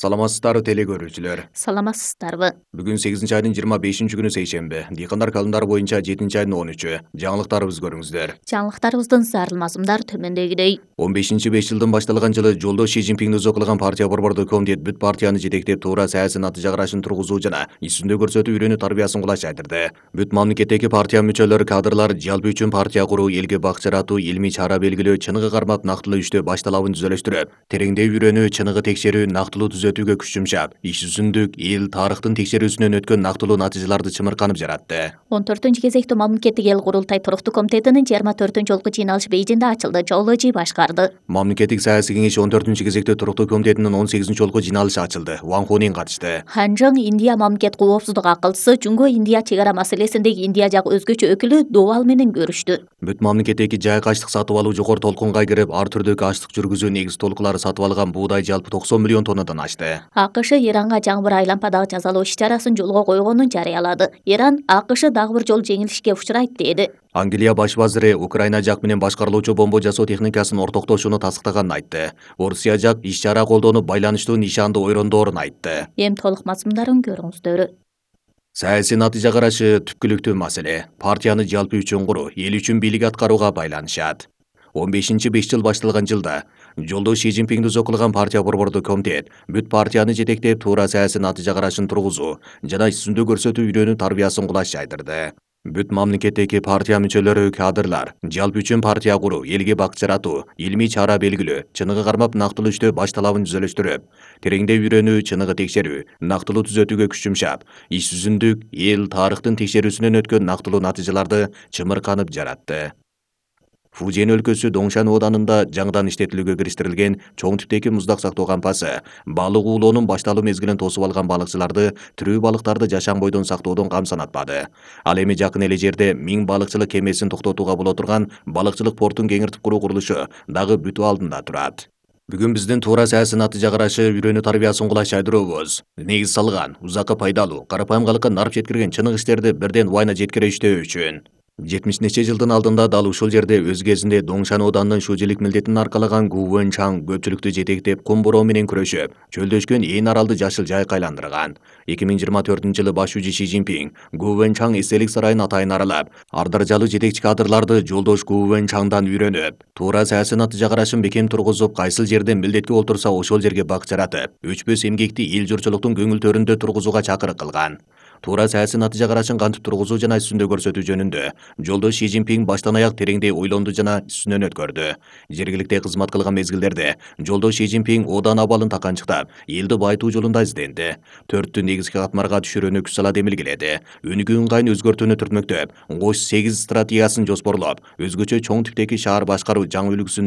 Саламатсыздарбы теле көрүүчүлөр. Саламатсыздарбы. Бүгүн 8-айдын 25-күнү сейшемби. Дыйкандар календары боюнча 7-айдын 13-ү. Жаңылыктарыбызды көрүңүздөр. Жаңылыктарыбыздын зарыл мазмундар төмөндөгүдөй. 15-5 жылдын башталган жылы жолдош Си Цзиньпиңди өзү кылган партия борбордук комитет бүт партияны жетектеп туура саясий натыйжа карашын тургузуу жана иш жүзүндө көрсөтүү үйрөнүү тарбиясын кулаш айтырды. Бүт мамлекеттеги партия мүчөлөрү, кадрлар жалпы үчүн партия куруу, элге бак жаратуу, илмий чара белгилөө, чыныгы кармап нактылуу иштөө башталабын түзөлөштүрүп, тереңдей үйрөнүү, чыныгы текшерүү, нактылуу түзөтүүгө күч жумшап, иш жүзүндүк эл тарыхтын текшерүүсүнөн өткөн нактылуу натыйжаларды чымырканып жаратты. 14-кезектүү мамлекеттик эл курултай туруктуу комитетинин 24-жолку жыйналышы Бейжиңде ачылды. Жолдожи башкарды. Мамлекеттик саясий кеңеш 14-кезектүү туруктуу комитетинин 18-жолку жыйналышы ачылды. Ван Хунин катышты. Ханжың Индия мамлекет коопсуздук акылчысы, Жунгө Индия чек ара маселесиндеги Индия жак өзгөчө өкүлү Довал менен көрүштү. Бүт мамлекеттеги жайкы ачлык сатып алуу жогору толкунга кирип, ар түрдүү ачлык жүргүзүү негиз толкулары сатып алган буудай жалпы 90 миллион тоннадан ашты. АКШ Иранга жаңбыр айлампадагы жазалоо иш-чарасын жолго койгонун жарыялады. Иран АКШ дагы бир жолу жеңилишке учурайт деди. Англия баш вазири Украина жак менен башкарылуучу бомба жасоо техникасын ортоктошууну тастыктаганын айтты. Орусия жак иш-чара колдонуп байланыштуу нишанды ойрондоорун айтты. Эми толук мазмундарын көрүңүздөр. Саясий натыйжа карашы түпкүлүктүү маселе. Партияны жалпы үчүн куруу, эл үчүн бийлик аткарууга байланышат. 15-5 жыл башталган жылда жолдош Си Цзиньпиңди өзү кылган партия борбордук комитет бүт партияны жетектеп туура саясий натыйжа карашын тургузуу жана иш жүзүндө көрсөтүү үйрөнүү тарбиясын кулаш айтырды. Бүт мамлекеттеги партия мүчөлөрү, кадрлар жалпы үчүн партия куруу, элге бак жаратуу, илмий чара белгилөө, чыныгы кармап нактылуу иштөө башталабын түзөлөштүрүп, тереңдей үйрөнүү, чыныгы текшерүү, нактылуу түзөтүүгө күч жумшап, иш жүзүндүк эл тарыхтын текшерүүсүнөн өткөн нактылуу натыйжаларды чымырканып жаратты. Фужен өлкөсү Доңшан ооданында жаңыдан иштетилүүгө кириштирилген чоң типтеги муздак сактоо кампасы балык уулоонун башталуу мезгилин тосуп алган балыкчыларды тирүү балыктарды жашам бойдон сактоодон кам санатпады. Ал эми жакын эле жерде 1000 балыкчылык кемесин токтотууга боло турган балыкчылык портун кеңиртип куруу курулушу дагы бүтүү алдында турат. Бүгүн биздин туура саясий натыйжа карашы үйрөнүү тарбиясын кулаш айдырообуз. Негиз салган, узакка пайдалуу, карапайым калкка нарып жеткирген чынык иштерди бирден убайына жеткире иштөө үчүн 70 нече жылдын алдында дал ушул жерде өз кезинде Доңшан ооданынын шүүжелик милдетин аркалаган Гу Вэнчаң көпчүлүктү жетектеп кум бороо менен күрөшүп, чөлдөшкөн ээн аралды жашыл жайкы айландырган. 2024-жылы баш шүүжү Си Цзиньпиң Гу Вэнчаң эстелик сарайын атайын аралап, ар даражалуу жетекчи кадрларды жолдош Гу Вэнчаңдан үйрөнүп, туура саясий натыйжа карашын бекем тургузуп, кайсыл жерде милдетке олтурса ошол жерге бак жаратып, өчпөс эмгекти эл журтчулуктун көңүл төрүндө тургузууга чакырык кылган. Туура саясий натыйжа карашын кантип тургузуу жана иш жүзүндө көрсөтүү жөнүндө жолдош Си Цзиньпиң баштан аяк тереңдей ойлонду жана иш жүзүнөн өткөрдү. Жергиликте кызмат кылган мезгилдерде жолдош Си Цзиньпиң оодан абалын таканчыктап, элди байытуу жолунда изденди. 4 негизги катмарга түшүрүүнү күч сала демилгеледи. Өнүгүү ыңгайын өзгөртүүнү түртмөктөп, Кош 8 стратегиясын жоспорлоп, өзгөчө чоң типтеги шаар башкаруу жаңы үлгүсүн